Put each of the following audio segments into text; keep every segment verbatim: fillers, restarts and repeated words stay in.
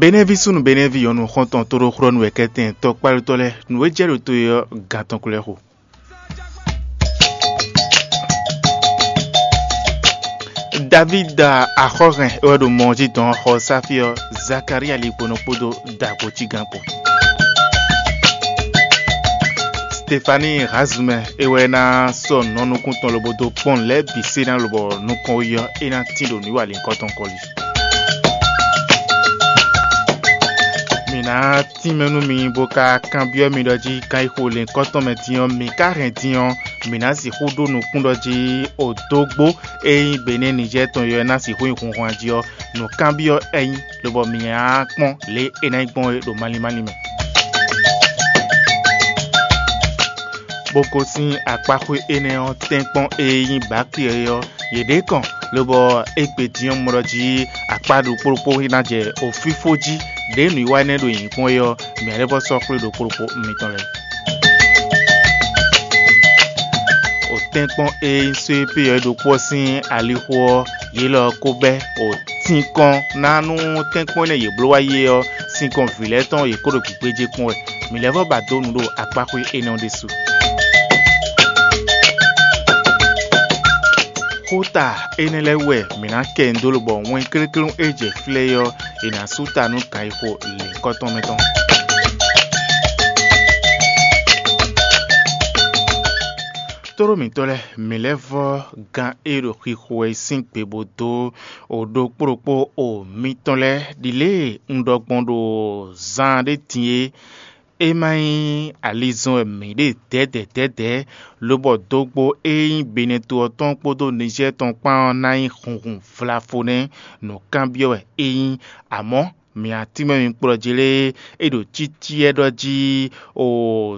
Benɛ́ví súnnu Benɛ́ví nyɔ̌nu xɔ́ntɔn tóɖóxlɔ́nú wɛ kɛ́tɛn tɔkpálutɔ́ lɛ́ɛ nǔ e jɛ ɖo to e ɔ́, gan tɔn ko lɛ́ xo. Davída axɔ́hɛn e wɛ ɖo mɔ ɔ́ jí dɔn ɔ́ xɔ sáfí ɔ́, Zakalía ligbɔnɔ kpódó dǎgbócígán kpó. Stefani Hazumɛ e wɛ ná sɔ́ nǔ nukún tɔn lobo dó kpɔ́n nǔ lɛ́ɛ bǐ sé ná lobɔ nukɔn yi ɔ́, é ná tín ɖo nǔwiwa lǐnkɔ́ tɔn kɔli. Mǐ ná tínmɛ nú mi bó ka kanbyɔ́ mi ɖɔ jí kan e xo lǐnkɔ́ tɔn mɛ din ɔ́, mǐ ka hɛn din ɔ́, mǐ ná sixú ɖó nukún ɖɔ jí odógbó e nyí Benɛ́ Nijɛ́ɛ tɔn ɔ́ ná sixú nyí hunhwan jí ɔ́, nǔkanbyɔ́ é nyí, lobɔ mǐ ná kpɔ́n lě e é ná nyí gbɔn é ɖo malín málín mɛ. Bó gosín akpáxwé énɛ́ ɔ́ tɛ́nkpɔ́n e nyí Baki é ɔ́, yě ɖě kɔn, lobɔ é gbe din ɔ́ mɔ ɖɔ jí akpá ɖokpó ɖokpó ná jɛ ofífó jí, ɖě nǔwiwa énɛ́ ɖo nyǐkɔ é ɔ́, mǐ lɛ́ vɔ́ sɔ́ xwlé ɖokpó ɖokpó mitɔn lɛ́ɛ. Otɛ́nkpɔ́n e nyí só e pé ɔ́ ɖokpó ɔ́ sín alixo ɔ́, yě lɔ ko bɛ́ otínkɔ́n ná nú tɛ́nkpɔ́n énɛ́ yě bló wá yi é ɔ́, sinkɔn vǐ lɛ́ɛ tɔn yě kó ɖo gbǐgbéjé kpɔ́n wɛ. Mǐ lɛ́ vɔ́ ba dó nǔ ɖo akpáxwé énɛ́ ɔ́ ɖésú. Xóta énɛ́ lɛ́ɛ wú wɛ mǐ ná kɛ nyi dó lobɔ wɛn kléklé e jɛ flɛ́ é ɔ́, è nǎ sú ta nú kan e xo lěhunkɔtɔn mɛ tɔn. Tóɖó mǐtɔn lɛ́ɛ, mǐ lɛ́ vɔ́ gán e ɖo xixo wɛ é sín gbe bó dó o ɖokpó ɖokpó o mitɔn lɛ́ɛ ɖi lě e un ɖɔ gbɔn ɖo zan ɖé din é. É má nyí alizɔn wɛ mǐ ɖe dɛ̌dɛ̌dɛ̌dɛ̌, lobɔ dógbó e nyí Benɛto ɔ́ tɔn kpódó Nizɛ́ɛ tɔn kpán ɔ́ ná nyí hunhun vlafo nɛ́, nǔkanbyɔ́ wɛ é nyí. Amɔ̌, mǐ atínmɛ mi kplɔ́ jí lé, é ɖo cícíɛ ɖɔ jí o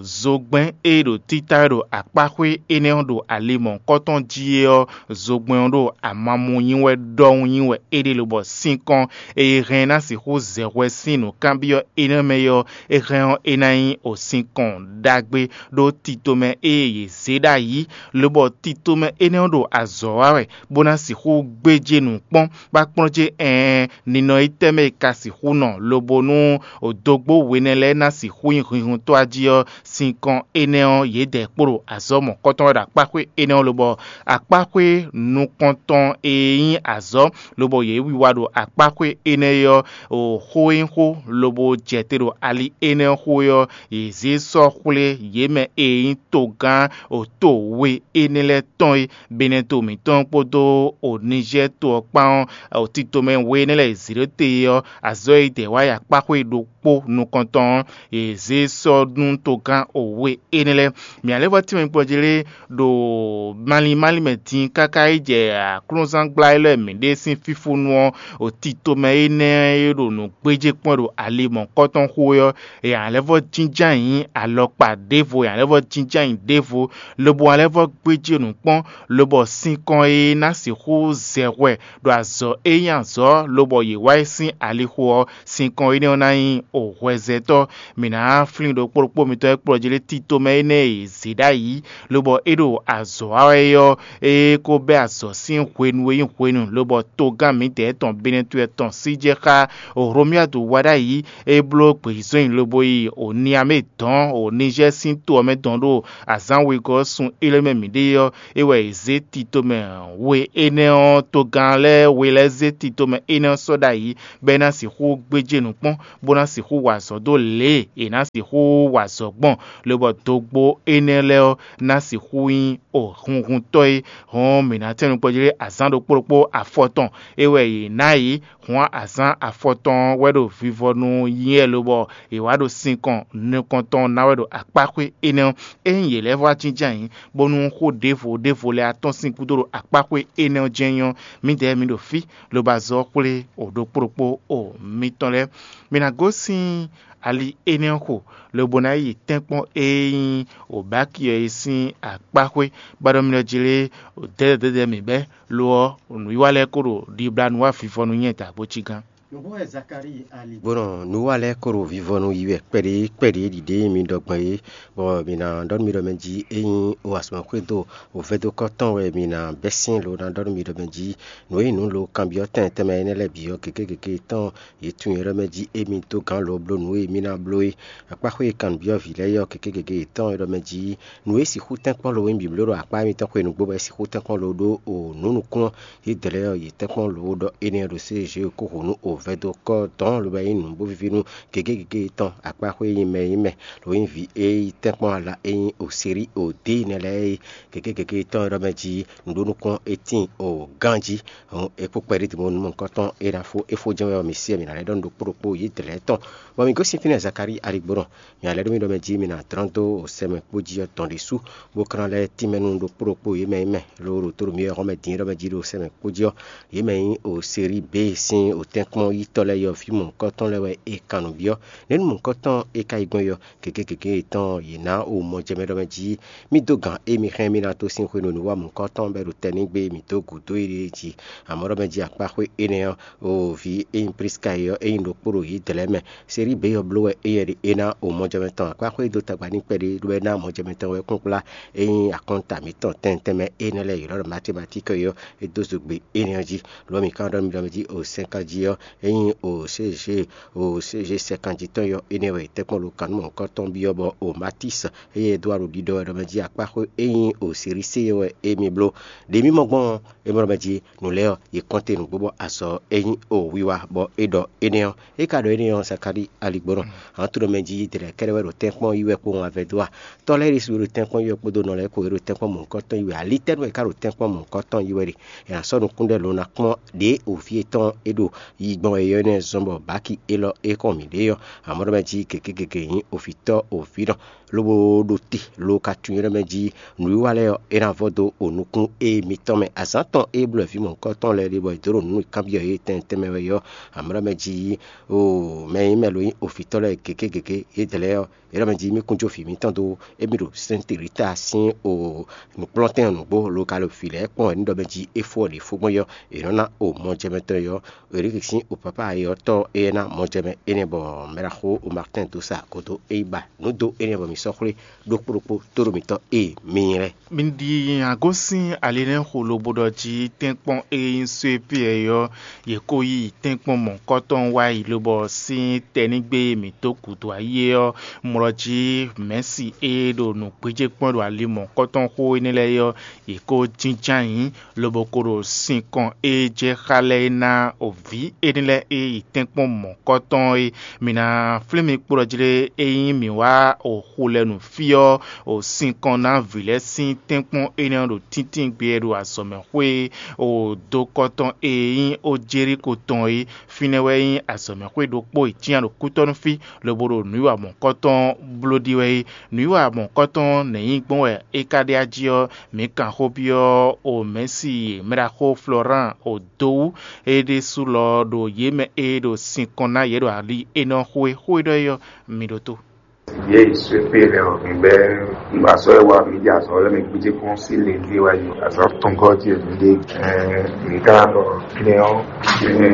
zogbɛ́n e ɖo títá wɛ ɖo akpáxwé énɛ́ ɔ́ ɖo ali mɔ̌hunkɔtɔn jí é ɔ́, zogbɛ́n ɔ́ ɖo amamu nyi wɛ ɖɔhun nyi wɛ é ɖe lobɔ sinkɔn e hɛn ná sixú zɛ hwɛ sín nǔkanbyɔ́ énɛ́ mɛ é ɔ́, é hɛn ɔ́, é ná nyí o sinkɔn ɖagbe ɖó tito mɛ e yě zě ɖ'ayǐ, lobɔ tito mɛ énɛ́ ɔ́ ɖo azɔ̌ wa wɛ, bó ná sixú gbéjé nǔ kpɔ́n, bó ná kplɔ́n jé ɛɛn, ninɔ yi tɛ́ mɛ è ka sixú nɔ, lobo nú dógbó we nɛ́ lɛ́ɛ ná sixú nyí hunhuntɔ́ jí ɔ́, sinkɔn énɛ́ ɔ́, yědɛɛ kpo ɖo azɔ̌ mɔ̌kɔtɔn wɛ ɖo akpáxwé énɛ́ ɔ́ lobɔ akpáxwé nukɔntɔn e nyí azɔ̌, lobɔ yě wiwa ɖo akpáxwé énɛ́ ɔ́, o xó e nyí xó, lobo jɛ te ɖo ali énɛ́ ɔ́ xó é ɔ́, yě zé sɔ́ xwlé yě mɛ e nyí togán o to we énɛ́ lɛ́ɛ tɔn é, Benɛto mǐtɔn kpódó o Nizɛ́ɛ to ɔ́ kpán ɔ́, o tito mɛ we énɛ́ lɛ́ɛ e zě ɖó te é ɔ́, azɔ̌ e dɛ wá yi akpáxwé ɖokpó nukɔntɔn ɔ́, yě zé sɔ́ nú togán o we énɛ́ lɛ́ɛ. Mǐ lɛ́ vɔ́ tínmɛ kplɔ́ jí lé ɖo malín málín mɛ din káká yi jɛ aklúnzángbla élɔ́ e mǐ ɖe sín fífúnú ɔ́, o tito mɛ énɛ́ e ɖo nǔ gbéjé kpɔ́n ɖo ali mɔ̌kɔtɔn xó é ɔ́, è nǎ lɛ́ vɔ́ jínjɔ́n ayǐ alɔkpa ɖěvo, è nǎ lɛ́ vɔ́ jínjɔ́n ayǐ ɖěvo, lobo wá lɛ́ vɔ́ gbéjé nǔ kpɔ́n, lobɔ sinkɔn e ná sixú zɛ hwɛ ɖo azɔ̌ e nyí azɔ̌, lobɔ yě wá yi sín alixo ɔ́, sinkɔn énɛ́ ɔ́ ná nyí o hwɛzɛtɔ́. Mǐ ná flín ɖokpó ɖokpó mitɔn e kplɔ́ jí lé tito mɛ énɛ́ e yě zě ɖ'ayǐ, lobɔ é ɖo azɔ̌ wa wɛ é ɔ́, é ko bɛ́ azɔ̌ sín hwenu e nyí hwenu, lobɔ togán mǐdɛɛ tɔn Benɛto tɔn sí jɛ xá Hlomyadu wá ɖ'ayǐ, é bló gbeyízɔ́nyi lobo yi o Niamé dɔn o Nizɛ́ɛ sín to ɔ́ mɛ dɔn ɖo azǎn wegɔ́ ɔ́ sun élɔ́ mɛ mǐ ɖe ɔ́, é wɛ è zě tito mɛ we énɛ́ ɔ́, togán lɛ́ɛ we lɛ́ɛ zé tito mɛ énɛ́ ɔ́ sɔ́ ɖ'ayǐ, bɔ é ná sixú gbéjé nǔ kpɔ́n, bó ná sixú wa azɔ̌ dó lě e è nǎ sixú wa azɔ̌ gbɔn, lobɔ dogbo énɛ́ lɛ́ɛ ɔ́ ná sixú nyí o hunhuntɔ́ é. Hɔn mǐ ná tɛ́n nukpɔ́ jí lé azǎn ɖokpó ɖokpó afɔtɔn é wɛ yě ná yě. Hɔn azǎn afɔtɔn wɛ ɖo vivɔnu nyí wɛ lobɔ è wá ɖo sinkɔn nukɔntɔn ná wɛ ɖo akpáxwé énɛ́ ɔ́. Ényí yě lɛ́ vɔ́ wá jínjɔ́n ayǐ, bónú xó ɖěvo ɖěvo lɛ́ɛ atɔ́n sín gúdo ɖo akpáxwé énɛ́ ɔ́ jɛ́n nyɔ́, mǐdɛɛ mǐ ɖo fí, lobo azɔ̌ xwlé o ɖokpó ɖokpó o mitɔn lɛ́ɛ. Mi ná gosín ali énɛ́ ɔ́ xo, lobo ná yi tɛ́nkpɔ́n e nyí Obaki ɔ́ é sín akpáxwé, bó ɖɔ mì ɖɔ jí lé, dɛ̌dɛ̌dɛ̌dɛ̌ mǐ bɛ́, lo ɔ́, nǔwiwa lɛ́ɛ ko ɖo ɖibla nu wá vivɔnu nyɛ dǎgbócígán. Nǔgbó wɛ Zakalíi ali. Gbɔnɔ nǔwa lɛ́ɛ kó ɖo vivɔnu yi wɛ kpɛɖé kpɛɖé ɖiɖe mi ɖɔ gbɔn é, bɔ mi ná ɖɔ nú mi ɖɔ mɛ jí é nyí o asɔmɔxwédo o vɛdokɔ tɔn wɛ mi ná bɛ́ sín lo ná ɖɔ nú mi ɖɔ mɛ jí nǔ e nyí nǔ lo kanbyɔ́ tɛn tɛnmɛ énɛ́ lɛ́ɛ bǐ ɔ́, gěgé gěgé tɔn yě tunwun é ɖɔ mɛ jí émí dó gǎn lo bló nǔ e mí ná bló é. Akpáxwé e kanbyɔ́ vǐ lɛ́ɛ é ɔ́, gěgé gěgé yětɔn é ɖɔ mɛ jí nǔ e sixú tɛ́nkpɔ́n lo nyí bǐbló ɖo akpá émítɔn xwenu gbó bɔ é sixú tɛ́nkpɔ́n lo ɖó o nǔ nukúnnú. Yědɛɛ lɛ́ɛ ɔ́, yě tɛ́nkpɔ́n lǒ ɖɔ énɛ́ ɖo sézé ko hǔ nú o vɛdokɔ dɔn lobo nyí nǔ bó víví nú gěgé gěgé tɔn akpáxwé e nyí mɛ e nyí mɛ, lǒ nyí vǐ e nyí tɛ́nkpɔ́n ala e nyí o sérí o dě nɛ́ lɛ́ɛ é. Gěgé gěgé tɔn e ɖɔ mɛ jí nǔ ɖó nukɔn é tíin o ganjí. Hǔn é kpó kpɛɖé din bónú nukɔntɔn e ná fó é fó jɛ́n wɛ ɔ́, mi sí ɛ mǐ ná lɛ́ ɖɔ nǔ ɖokpó ɖokpó yědɛɛ lɛ́ɛ tɔn, bɔ mǐ gosín fínɛ́ Zakalíi aligbónɔ. Nya lɛ́ ɖó mì ɖɔ mɛ jí mi ná dlɔ́n dó sɛmɛ kpó jí ɔ́ tɔn ɖésú, bó kán lɛ́ tínmɛ nú ɖokpó ɖokpó yě mɛ nyí mɛ, ló ɖo tó ɖo mì wɛ hɔn mɛ din ɖɔ mɛ jí ɖo sɛmɛ kpó jí ɔ́, yě mɛ nyí o sérí bé sín o tɛ́nkpɔ́n yítɔ́ lɛ́ɛ yɔ́ fí mɔ̌hunkɔtɔn lɛ́ɛ wɛ è kan nǔ byɔ́. Nɛ̌ nú mɔ̌hunkɔtɔn e ka yi gbɔn é ɔ́, gěgé gěgé yětɔn yě ná o mɔjɛmɛ ɖɔ mɛ jí mì dó gǎn e mi hɛn mì ná tó sín hwenu e nǔ wa mɔ̌hunkɔtɔn bɔ é ɖo tɛnígbe mǐ dó gǔdo é ɖíe jí. Amɔ̌ ɖɔ mɛ jí akpáxwé énɛ́ ɔ́, o vǐ e nyí Priska é ɔ́, é nyí ɖokpó ɖo yǐdɛɛ lɛ́ɛ mɛ. Sérí bě ɔ́ bló wɛ éyɛ́ ɖe é ná o mɔjɛmɛ tɔn akpáxwé e dó tagba n'i kpɛɖé ɖó wɛ ná mɔjɛmɛ tɔn wɛ kplɔ́nkplɔ́n e nyí akɔ́nta mǐtɔn tɛntɛnmɛ énɛ́ lɛ́ɛ è nɔ ɖɔ matématík é ɔ́, é dó zogbe énɛ́ ɔ́ jí. Lo ɔ́, mǐ ka ɖɔ nú mi ɖɔ mɛ jí o sɛnkan jí ɔ́, é nyí o sézé o sézé sɛnkan jí tɔn ɔ́, énɛ́ wɛ è tɛ́nkpɔ́n ɖo kannumɔ̌hunkɔtɔn byɔ́ bɔ o Matísi éyɛ́ é dó alɔ ɖiɖɔ wɛ ɖɔ mɛ jí akpáxwé e nyí o Silisée ɔ́ wɛ émí bló. Ɖě mì mɔ gbɔn ɔ́, é mɔ ɖɔ mɛ jí nǔ lɛ́ɛ ɔ́, yě kɔn te nǔgbó bɔ azɔ̌ e nyí o wiwa bɔ é ɖɔ énɛ́ ɔ́, é ka ɖɔ énɛ́ ɔ́, Zakalíi aligbɔnɔ. Ahan to ɖɔ mɛ jí yědɛɛ lɛ́ɛ kɛ́ɖɛ́ wɛ ɖo tɛ́nkpɔ́n yí wɛ kpowun avɛdó a? Tɔ́ lɛ́ɛ ɖésú e ɖo tɛ́nkpɔ́n yí wɛ kpódó nɔ lɛ́ɛ kpó e ɖo tɛ́nkpɔ́n mɔ̌hunkɔtɔn yí wɛ, ali tɛ́ nú wɛ é ka ɖo tɛ́nkpɔ́n mɔ̌hunkɔtɔn yí wɛ ɖe? È nǎ sɔ́ nukún ɖɛ lo ná kpɔ́n ɖě o vǐ yětɔn é ɖo yi gbɔn wɛ é ɔ́ nɛ́ zɔ́n bɔ bǎki élɔ́ e kɔn mǐ ɖe ɔ́, amɔ̌ ɖɔ mɛ jí gěgé gěgé nyí ovǐtɔ́ ovǐnɔ, lobo ɖo te lo ka tunwun é ɖɔ mɛ jí nǔwiwa lɛ́ɛ ɔ́, é ná vɔ́ dó o nukún e mitɔn mɛ. Azǎn tɔn e bló wɛ vǐ mɔ̌hunkɔtɔn lɛ́ɛ ɖe bɔ è dǒ ɖo nǔ e kanbyɔ́ yě tɛnmɛ tɛnmɛ wɛ é ɔ́, amɔ̌ ɖɔ mɛ jí o mɛ e nyí mɛ lo nyí ovǐtɔ́ lɛ́ɛ gěgé gěgé yědɛɛ lɛ́ɛ ɔ́, é ɖɔ mɛ jí mì kún jó vǐ mǐtɔn dó émí ɖo Sɛ́nte Rita sín o nǔkplɔ́ntɛn ɔ́ nǔgbó lo ka ɖo vǐ lɛ́ɛ kpɔ́n wɛ ní ɖɔ mɛ jí é fó ɔ́ ɖě fó gbɔn é ɔ́, è nɔ ná o mɔjɛmɛtɔn é ɔ́, Eriki sín o papa ayɔtɔ́ énɛ́ ná mɔjɛmɛ énɛ́ bɔ mɛɖaxó o Martɛn dó sa kodo é yi ba nǔ dó énɛ́ bɔ mǐ sɔ́ xwlé ɖokpó ɖokpó tóɖo mǐtɔn e mi nyi lɛ́ɛ. Mi ɖi agosín alinɛ́xo lobo ɖɔ jí tɛ́nkpɔ́n e nyí Suepiyɛ ɔ́, yě ko yí tɛ́nkpɔ́n mɔ̌hunkɔtɔn wá yi lobɔ sín tɛnígbe e mǐ dó gǔdo ayé ɔ́, mlɔ jí mɛ̌si e ɖo nǔgbéjé kpɔ́n ɖo ali mɔ̌hunkɔtɔn xo énɛ́ lɛ́ɛ ɔ́, yě ko jínjɔ́n ayǐ, lobo ko ɖo sinkɔn e jɛ xá lɛ́ɛ é ná o vǐ énɛ́ lɛ́ɛ e yi tɛ́nkpɔ́n mɔ̌hunkɔtɔn é. Mǐ ná flín mi kpo ɖɔ jí lé, ényí mǐ wá o xu lɛ́ɛ nu fí ɔ́, o sinkɔn ná vǐ lɛ́ɛ sín tɛ́nkpɔ́n énɛ́ ɔ́ ɖo tíntíngbe e ɖo azɔ̌mɛxwé o dokɔtɔn e nyí o Jelíko tɔn é. Fínɛ́ wɛ nyí azɔ̌mɛxwé ɖokpó e cyán ɖo kútɔ́nú fí, lobo ɖo nǔwiwa mɔ̌hunkɔtɔn bló ɖi wɛ é. Nǔwiwa mɔ̌hunkɔtɔn nɛ̌ nyí gbɔn wɛ é ka ɖe ají ɔ́, mǐ kan xó byɔ́ o mɛ̌si mɛɖaxó Florán o dó wú. É ɖésú lɔ ɖo yě mɛ e ɖo sinkɔn ná yě ɖo ali énɛ́ ɔ́ xwé xó e ɖɔ é ɔ́, mi ɖótó. Yě yi Suepé lɛ ɔ́, mi bɛ ngbasɔ e wa mi di azɔ lɛ mi gbidzi kpɔn si le di wa yi azɔ tɔngɔ di mi de. Ɛɛ, mi ka lɔ ne ɔ, ɛɛ,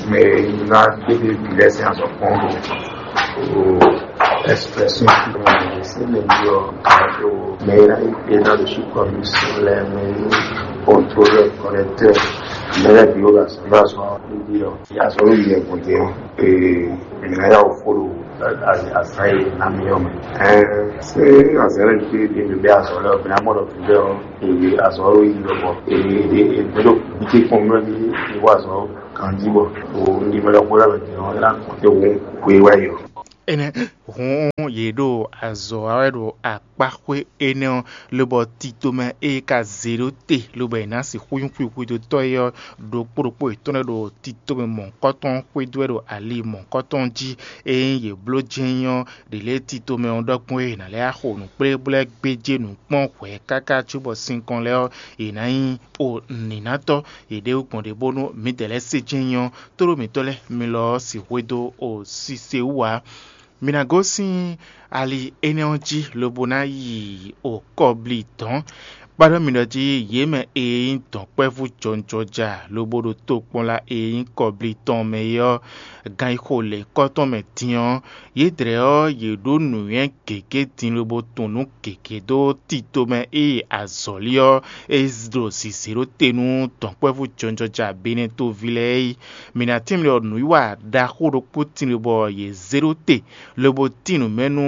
mɛ na gbede bi lɛ sin azɔ kpɔn do o expression si le di ɔ, o mɛ na yi pe na le su kɔ mi si lɛ mɛ ni contrôleur, correcteur, mɛ lɛ bi o la sɔ na sɔ di ɔ, ya sɔ yi yɛ gbɔdɛ ɔ, ee, mi na ya o fo do azan yi na mi ɔ mɛ. Ɛɛ, se azan lɛ ti di mi bɛ azɔ lɛ ɔ, mi na mɔ dɔ fi bɛ ɔ, ee, azɔ yi lɔ bɔ, ee, ee, ee, mi do mi ti kpɔn mi wɛ mi wa azɔ kan di bɔ, o ni mɛ lɔ kpɔ lɛ mɛ di ɔ, e na kɔn te wo ko yi wa yi ɔ. Énɛ́ hǔn yě ɖo azɔ̌ wa wɛ ɖo akpáxwé énɛ́ ɔ́, lobɔ titomɛ e ka zě ɖó te, lobɔ è nǎ sixú nyí xwixwídótɔ́ é ɔ́, ɖokpó ɖokpó yětɔn lɛ́ɛ ɖo titomɛ mɔ̌hunkɔtɔn xwedó wɛ ɖo ali mɔ̌hunkɔtɔn jí. Ényí yě bló jɛ́n nyí ɔ́, ɖě lɛ́ɛ titomɛ ɔ́ ɖɔ gbɔn é è nǎ lɛ́ xo nǔkplé bó lɛ́ gbéjé nǔ kpɔ́n hwɛ̌ káká cóbɔ sinkɔn lɛ́ɛ ɔ́, è nǎ nyí o nǐnátɔ́. Yě ɖe wú gbɔn ɖě bónú mǐdɛɛ lɛ́ɛ se jɛ́n nyí ɔ́, tóɖó mǐtɔn lɛ́ɛ mi lɔ ɔ́ sixwedó o sise wú ǎ. Mi ná gosín ali énɛ́ ɔ́ jí lobo ná yi okɔbli dɔ̌n. Kpáɖɔ mi ɖɔ jí yě mɛ e nyí dɔ̌nkpɛ́vú jɔnjɔja lobo ɖo tokpɔnla e nyí kɔblí tɔn mɛ é ɔ́, gan yi xo lěkɔ́ tɔn mɛ din ɔ́, yědɛɛ ɔ́, yě ɖó nǔnywɛ́ gěgé din lobo tun nǔ gěgé dó tito mɛ e azɔ̌li ɔ́ e ɖo zǐzé ɖó te nú dɔ̌nkpɛ́vú jɔnjɔja Benɛ́ɛ toví lɛ́ɛ é. Mǐ ná tínmɛ ɖɔ nǔwiwa ɖaxó ɖokpó tin lobo yě zé ɖó te, lobo tín nǔ mɛ nú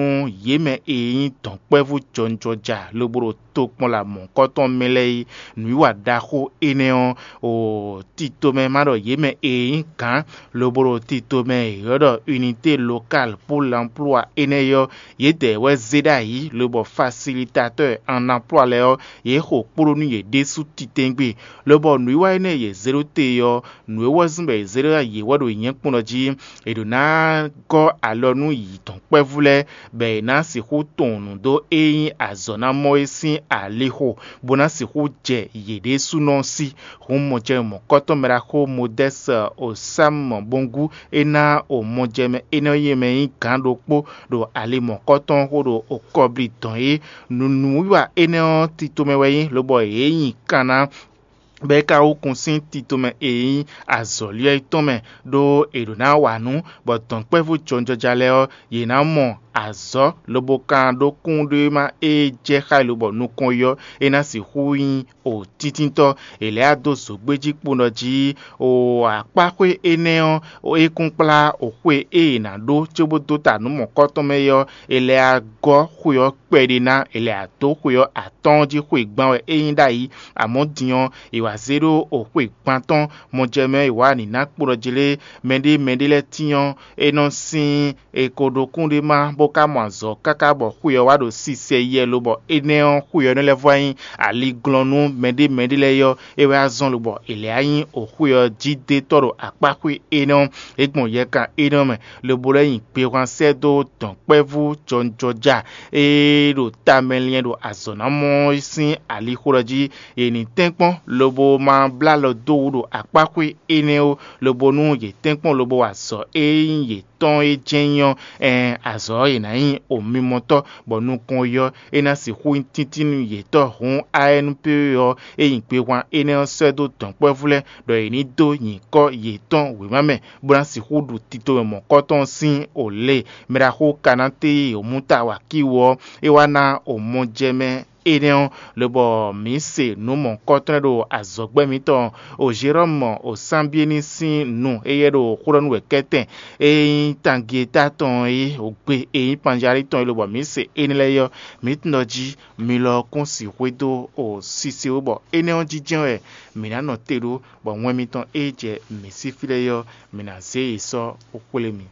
yě mɛ e nyí dɔ̌nkpɛ́vú jɔnjɔja lobo ɖo tokpɔn la mɔ̌hunkɔtɔn mɛ lɛ́ɛ é. Nǔwiwa ɖaxó énɛ́ ɔ́, o tito mɛ ma ɖɔ yě mɛ e nyí gǎn, lobo ɖo tito mɛ e ylɔ́ ɖɔ unité locale pour l'emploi énɛ́ é ɔ́, yědɛɛ wɛ zé ɖ'ayǐ, lobɔ facilitatɔ́ en emploi lɛ́ɛ ɔ́, yě xo kpló nú yě ɖésú titɛ́ngbé. Lobɔ nǔwiwa énɛ́ e yě zé ɖó te ɔ́, nǔ e wɛ zɔ́n bɔ è zé ɖó yě wɛ ɖo nyɛ̌kpɔ́n ɔ́ jí. È ɖǒ ná gɔ́ alɔ nú yǐtɔ́nkpɛ́vú lɛ́ɛ, bɔ è nǎ sixú tunwun nǔ dó e nyí azɔ̌ ná mɔ é sín alixo, bó ná sixú jɛ yě ɖésúnɔ sí. Hǔn mɔjɛmɛ mɔ̌kɔ́tɔn mɛ ɖaxó Modɛ́si Osámɔ Bongú é ná o mɔjɛmɛ énɛ́ e mɛ nyí gǎn ɖokpó ɖo ali mɔ̌kɔ́tɔn xo ɖo okɔbli dɔn é. Nǔnúwiwa énɛ́ ɔ́ tito mɛ wɛ nyí, lobɔ yě nyi kan ná bɔ é ka wú kun sín tito mɛ e nyí azɔ̌li ɔ́ tɔn mɛ, ɖó è ɖǒ ná wa nǔ, bɔ dɔ̌nkpɛ́vú jɔnjɔja lɛ́ɛ ɔ́, yě ná mɔ azɔ̌ lobo kan ɖó kúnɖéma e jɛ xá e lobɔ nukɔn yi ɔ́, é ná sixú nyí o tíntítɔ́. È lɛ́ wá dó zǒgbéjí kpowun jí o akpáxwé énɛ́ ɔ́, é kún kplá o xwé e è nǎ ɖó cóbó dó ta nǔ mɔ̌kɔ́tɔn mɛ é ɔ́, è lɛ́ wá gɔ́ xwe ɔ́ kpɛɖé ná, è lɛ́ wá dó xwe ɔ́ atɔ́ɔ́n jí xwe gban wɛ é nyí ɖ'ayǐ. Amɔ̌ din ɔ́, è wǎ zé ɖó o xwe gban tɔn, mɔjɛmɛ è wǎ nǐ ná kpo ɖɔ jlé mɛɖé mɛɖé lɛ́ɛ tín ɔ́, é nɔ sín è ko ɖo kúnɖéma bó ka mɔ azɔ̌ káká bɔ xwe ɔ́ wá ɖo sisɛ yɛ lobɔ énɛ́ ɔ́, xwe ɔ́ nɔ lɛ́ vɔ nyí aliglɔ́ nú mɛɖé mɛɖé lɛ́ɛ é ɔ́, é wɛ azɔn lobɔ è lɛ́ nyí o xwe ɔ́ jí dó tɔ́ ɖo akpá xwe énɛ́ ɔ́, é gbɔn yɛkan énɛ́ ɔ́ mɛ, lobo lɛ́ nyi gbehwan sɛ́ dó dɔ̌nkpɛ́vú jɔnjɔja e ɖo tamɛ liɛn ɖo azɔ̌ ná mɔ sín alixo ɔ́ jí. È nǐ tɛ́nkpɔ́n lobo ma blá alɔ dó wǔ ɖo akpá xwe énɛ́ ó, lobo nú yě tɛ́nkpɔ́n lobo wa azɔ̌ e nyí yětɔn é jɛ́n nyí ɔ́, ɛɛn azɔ̌ ɔ́, è nǎ nyí omimɔtɔ́, bɔ nukɔn yi ɔ́, é ná sixú nyí tíntín nú yětɔn. Hǔn A N P ɔ́, é nyi gbehwan énɛ́ ɔ́ sɛ́ dó dɔ̌nkpɛ́vú lɛ́ɛ ɖɔ yě ní dó nyǐkɔ yětɔn wěma mɛ, bó ná sixú ɖu tito mɔ̌kɔ́tɔn sín o lě. Mɛɖaxó Kanáte e omúta wa kíwú ɔ́, é wá ná omɔjɛmɛ énɛ́ ɔ́, lobɔ mǐ se nǔ mɔ̌hunkɔtɔn ɖo azɔ̌gbɛ́ mǐtɔn o Jerɔ́mu o Sanbiéni sín nu éyɛ́ ɖo xó ɖɔ nú wɛ kɛ́tɛn e nyí Tangieta tɔn é, o gbe e nyí Panjalí tɔn é, lobɔ mǐ se énɛ́ lɛ́ɛ ɔ́, mǐ tunwun ɖɔ jí mi lɔ kún sixwé dó o sise wú, bɔ énɛ́ ɔ́ jínjɛ́n wɛ mǐ ná nɔ te ɖó, bɔ wɛn mitɔn e jɛ mǐ sí fí lɛ́ɛ ɔ́, mǐ ná zé yě sɔ́ xwlé mi.